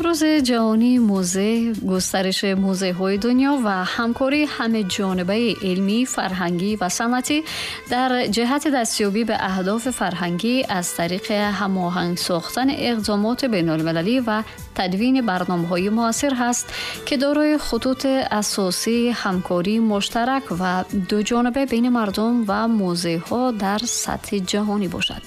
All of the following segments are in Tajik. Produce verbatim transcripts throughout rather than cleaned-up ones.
Рӯзи ҷаҳонии музей, густариши музейҳои дунё ва ҳамкории ҳамаҷонибаи илмӣ, фарҳангӣ ва санъатӣ дар ҷиҳати дастёбӣ ба аҳдофи фарҳангӣ аз тариқи ҳамоҳанг сохтани иқдомоти байналмилалӣ ва тадвини барномаҳои муассир ҳаст, ки дорои хутути асосии ҳамкории муштарак ва дуҷониба байни мардум ва музейҳо дар сатҳи ҷаҳонӣ бошад.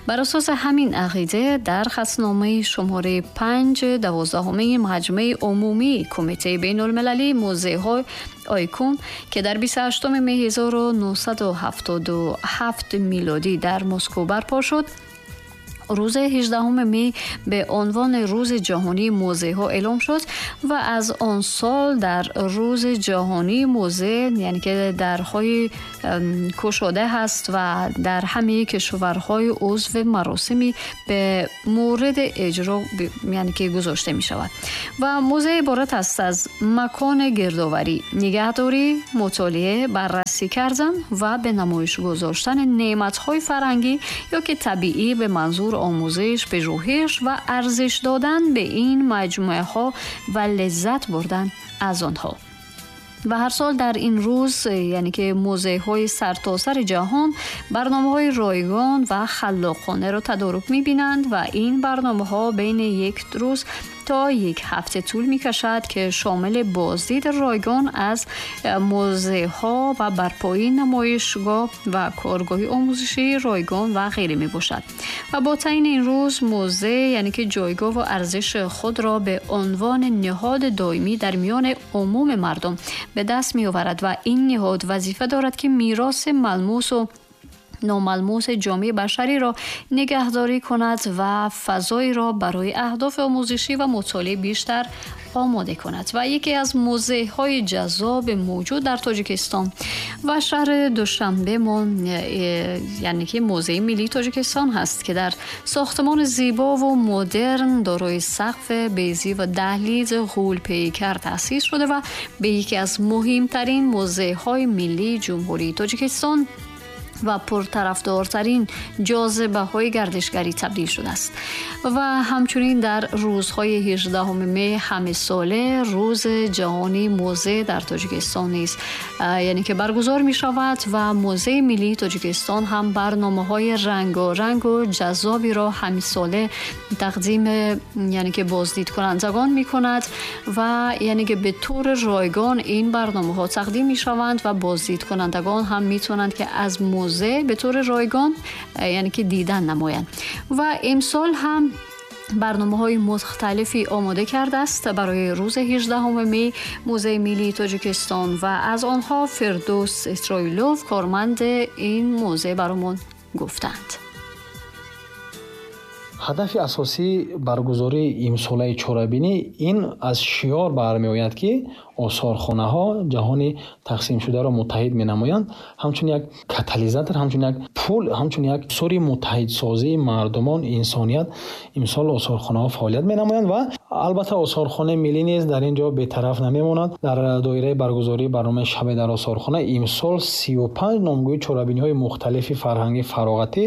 Бар асоси ҳамин ақида дар хатномаи шумораи панҷ دوازدهمین مجمع عمومی کمیته بین‌المللی موزه‌های آیکون که در بیست و هشتم می هزار و نهصد و هفتاد و هفت میلادی در مسکو برپا شد، روز هجدهم می به عنوان روز جهانی موزه ها اعلام شد و از آن سال در روز جهانی موزه، یعنی که درهای کشاده هست و در همه کشورهای عضو مراسمی به مورد اجرا ب-، یعنی که گذاشته می شود و موزه عبارت است از مکان گردآوری، نگهداری، مطالعه، بررسی کردن و به نمایش گذاشتن نعمت‌های فرهنگی یا که طبیعی به منظور آموزش، پژوهش و ارزش دادن به این مجموعه ها و لذت بردن از آنها. و هر سال در این روز، یعنی که موزه های سرتاسر جهان، برنامه های رایگان و خلاقانه را تدارک می بینند و این برنامه ها بین یک روز تا یک هفته طول می کشد که شامل بازدید رایگان از موزه ها و برپایی نمایشگاه و کارگاه آموزشی رایگان و غیره می باشد. و با تعیین این روز موزه، یعنی که جایگاه و ارزش خود را به عنوان نهاد دائمی در میان عموم مردم به دست می آورد و این نهاد وظیفه دارد که میراث ملموس و ناملموس جامعه بشری را نگهداری کند و فضایی را برای اهداف آموزشی و مطالعه بیشتر آماده کند. و یکی از موزه‌های جذاب موجود در تاجیکستان و شهر دوشنبه ما، یعنی که موزه ملی تاجیکستان هست که در ساختمان زیبا و مدرن دارای سقف بیضی و دهلیز غول پیکر تأسیس شده و به یکی از مهمترین موزه‌های ملی جمهوری تاجیکستان و پرطرفدارترین جاذبه‌های گردشگری تبدیل شده است. و همچنین در روزهای هجدهم می همه ساله روز جهانی موزه در تاجیکستان نیز، یعنی که برگزار می شود و موزه ملی تاجیکستان هم برنامه‌های رنگارنگ و جذابی را همه ساله تقدیم یعنی که بازدید کنندگان می کند و یعنی که به طور رایگان این برنامه‌ها تقدیم می شوند و بازدید کنندگان هم می توانند که از موزه به طور رایگان یعنی که دیدن نمایند. و امسال هم برنامه‌های مختلفی آماده کرده است برای روز هجدهم می موزه ملی تاجیکستان و از آنها فردوس اسرائیلوف کارمند این موزه برامون گفتند. ҳадафи асосии баргузории имсолаи чорабинӣ ин аз шиёр бармеояд, ки осорхонаҳо ҷаҳони тақсимшударо муттаҳид менамоянд, ҳамчун як катализатор, ҳамчун як пул, ҳамчун як сури муттаҳидсозии мардумон, инсоният имсол осорхонаҳо фаъолият менамоянд ва албатта осорхонаи миллӣ низ дар ин ҷо бетараф намемонад. Дар доираи баргузории барномаи шабе дар осорхона имсол сию панҷ номгӯи чорабиниҳои мухталифи фарҳангӣ фароғатӣ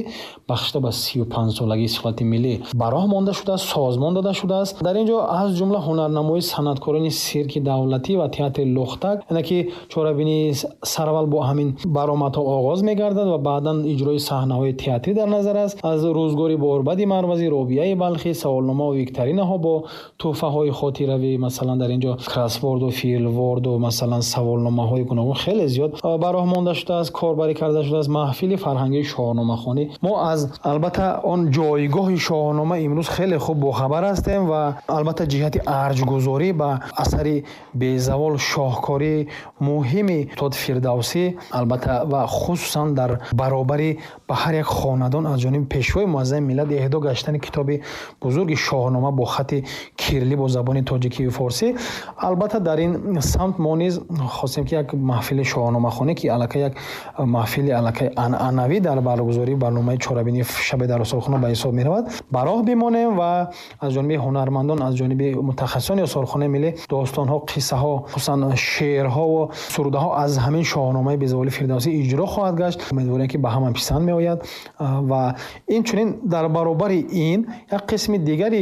бахшида ба сию панҷ солагии истиқлолияти миллӣ ба роҳ монда шудааст, созмон дода шудааст. Дар ин ҷо аз ҷумла ҳунарнамоии санъаткорони сирки давлатӣ ва театри Лухтак, яъне ки чорабинии сараввал бо ҳамин баромадҳо оғоз мегардад ва баъдан иҷрои саҳнаҳои театрӣ дар назар аст. Аз рӯзгори Борбади Марвазӣ, Робияи Балхӣ, саволнома ва викторинаҳо бо тӯҳфаҳои хотиравӣ, масалан дар ин ҷо кроссворду филворду масалан саволномаҳои гуногун хеле зиёд ба роҳ монда шудааст, корбарӣ карда шудааст. Маҳфили фарҳангии шоҳномахонӣ. Мо аз албатта он ҷойгоҳи шоҳнома имрӯз хеле хуб бохабар ҳастем ва албатта ҷиҳати арҷгузорӣ ба асари безавол шоҳкории муҳими устод Фирдавсӣ, албатта ва хусусан дар баробари ба ҳар як хонадон аз ҷониби пешвои муаззами миллат эҳдо гаштани китоби бузурги шоҳнома бо хати кирилӣ бо забони тоҷикӣ ва форсӣ, албатта дар ин самт мо низ хостем ки як маҳфили шоҳномахонӣ, ки аллакай як маҳфили аллакай анъанавӣ дар баргузории барномаи чорабинии шабе дар осорхона ба ҳисоб меравад, ба роҳ бимонем ва аз ҷониби ҳунармандон, аз ҷониби мутахассисони осорхонаи миллӣ достонҳо, қиссаҳо, хусусан шеърҳо ва сурудаҳо аз ҳамин шоҳномаи безаволи Фирдавсӣ иҷро хоҳад гашт. Умедворем ки ба ҳама писанд меояд ва инчунин дар баробари ин як қисми дигари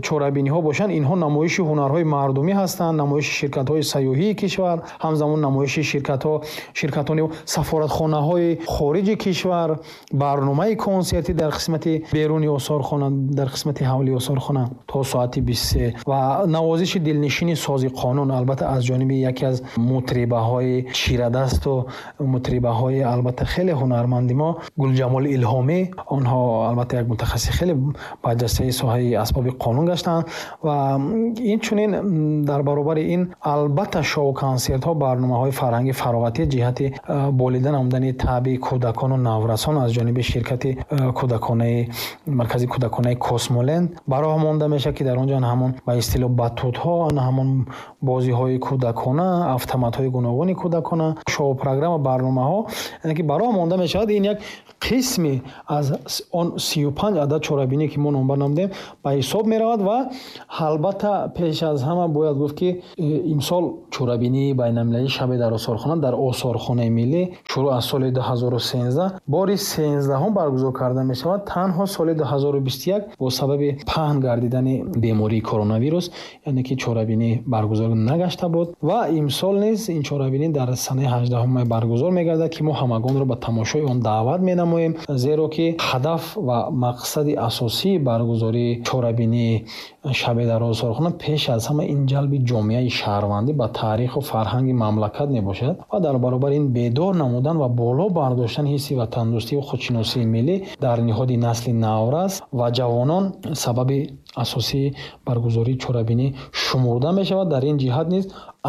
чорабиниҳо бошанд. мешаванд, инҳо намоиши ҳунарҳои мардумӣ ҳастанд, намоиши ширкатҳои сайёҳии кишвар, ҳамзамон намоиши ширкатҳо, ширкатони сафоратхонаҳои хориҷи кишвар, барномаи консертӣ дар қисмати беруни осорхона, дар қисмати ҳавлии осорхона то соати бисту се ва навозиши дилнишини сози қонун, албатта аз ҷониби яке аз мутрибаҳои чирадасту мутрибаҳои албатта хеле ҳунарманди мо Гулҷамол Илҳомӣ. Онҳо албатта як мутахассиси хеле барҷастаи соҳаи асбоби қонун гаштанд ва инчунин дар баробари ин албатта шоу-консертҳо, барномаҳои фарҳанги фароғатӣ ҷиҳати болида намудани таъби кӯдакону наврасон аз ҷониби ширкати кӯдаконаи маркази кӯдаконаи Космоленд ба роҳ монда мешавад, ки дар он ҷо ҳамон ба истилоҳ батутҳо, ҳамон бозиҳои кӯдакона, автоматҳои гуногуни кӯдакона, шоу-программа, барномаҳо яъне ки ба роҳ монда мешавад. Ин як қисми аз он сию панҷ адад чорабинӣ ки мо номбар намудем ба ҳисоб меравад ва албатта пеш аз ҳама бояд гуфт, ки имсол чорабинии байналмилалии шаби дар осорхона дар осорхонаи миллӣ шурӯъ аз соли ду ҳазору сенздаҳ бори сенздаҳум баргузор карда мешавад. Танҳо соли ду ҳазору бисту як бо сабаби паҳн гардидани бемории коронавирус, яъне ки чорабинӣ баргузор нагашта буд ва имсол низ ин чорабинӣ дар санаи ҳаждаҳум май баргузор мегардад, ки мо ҳамагонро ба тамошои он даъват менамоем, зеро ки ҳадаф ва мақсади асосии баргузории чорабинии шаби дар осорхона пеш аз ҳама ин ҷалби ҷомеаи шаҳрвандӣ ба таъриху фарҳанги мамлакат мебошад ва дар баробари ин бедор намудан ва боло бардоштани ҳисси ватандӯстӣ ва худшиносии миллӣ дар ниҳоди насли наврас ва ҷавонон сабаби асосии баргузории чорабинӣ шумурда мешавад. Дар ин ҷиҳат низ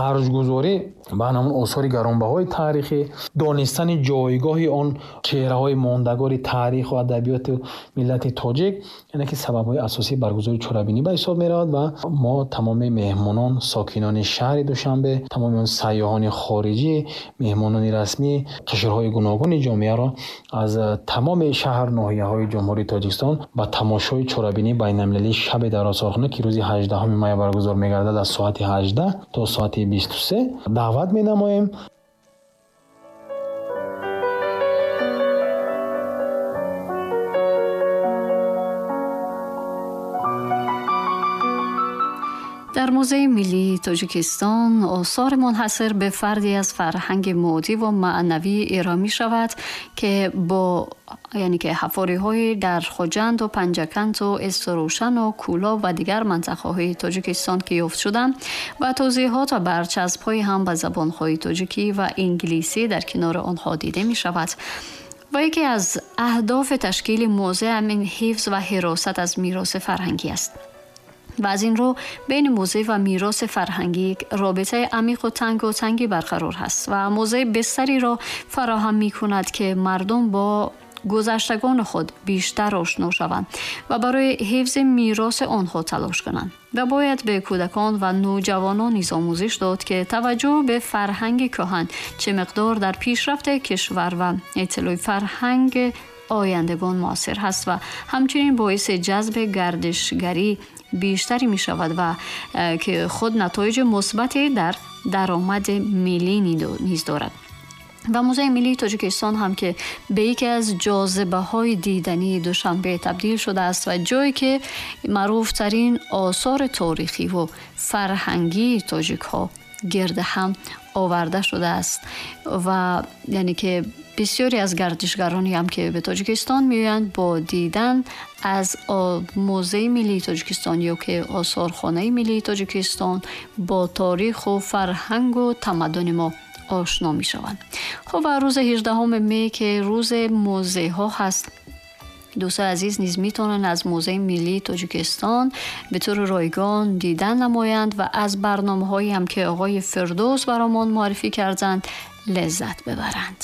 арҷгузорӣ ба ҳамон осори гаронбаҳои таърихӣ, донистани ҷойгоҳи он чеҳраҳои мондагори таъриху адабиёти миллати тоҷик, яъне ки сабабҳои асосии баргузории чорабинӣ ба ҳисоб меравад ва мо тамоми меҳмонон, сокинони шаҳри Душанбе, тамоми он сайёҳони хориҷӣ, меҳмонони расмӣ, қишрҳои гуногуни ҷомеаро аз тамоми шаҳр ноҳияҳои Ҷумҳурии Тоҷикистон ба тамошои чорабинии байналмилалии шаби дар осорхона, ки рӯзи ҳаждаҳуми май баргузор мегардад аз соати ҳаждаҳ то соати бисту се даъват менамоем. Дар Музеи миллии Тоҷикистон осори мунҳасир ба фарди аз фарҳанги моддӣ ва маънавӣ ироа мешавад, ки бо яъне ки ҳафориҳои дар Хуҷанд ва Панҷакент ва Истрӯшан ва Кӯлоб ва дигар минтақаҳои Тоҷикистон ки ёфт шуданд ва тавзеҳот ва барчаспҳои ҳам ба забонҳои тоҷикӣ ва инглисӣ дар канори онҳо дида мешавад. Ва яке аз аҳдофи ташкили музей ҳамин ҳифз ва ҳиросат аз мероси фарҳангӣ аст. Ва аз ин рӯ бین музей ва мероси фарҳангӣ робитаи амиқ ва танг ва тангӣ барқарор ҳаст ва музей бистаре фароҳам мекунад, ки мардум бо гузаштагони худ бештар ошно шаванд ва барои ҳифзи мероси онҳо талош кунанд. Ва бояд ба кӯдакон ва навҷавонон низ омӯзиш дод, ки таваҷҷӯҳ ба фарҳанги кӯҳан чӣ миқдор дар пешрафти кишвар ва иттилои фарҳанг ояндагон муассир ҳаст ва ҳамчунин боиси ҷазби гардишгарӣ бештаре мешавад ва ки худ натоиҷи мусбате дар даромади миллӣ низ дорад. Ва Музеи миллии Тоҷикистон ҳам ки ба яке аз ҷозибаҳои дидании Душанбе табдил шудааст ва ҷое ки маъруфтарин осори таърихӣ ва фарҳангии тоҷикҳо гирд ҳам оварда шудааст ва яъне ки бисёре аз гардишгароне ҳам ки ба Тоҷикистон меоянд бо дидан аз Музеи миллии Тоҷикистон ё ки осорхонаи миллии Тоҷикистон бо таърих ва фарҳанг ва тамаддуни мо ошно мешаванд. Хуб, ва рӯзи ҳаждаҳуми май ки рӯзи музейҳо ҳаст, дӯстони азиз низ метавонанд аз Музеи миллии Тоҷикистон ба таври ройгон дидан намоянд ва аз барномаҳое ҳам ки оғои Фирдавс баромон муаррифӣ карданд лаззат бибаранд.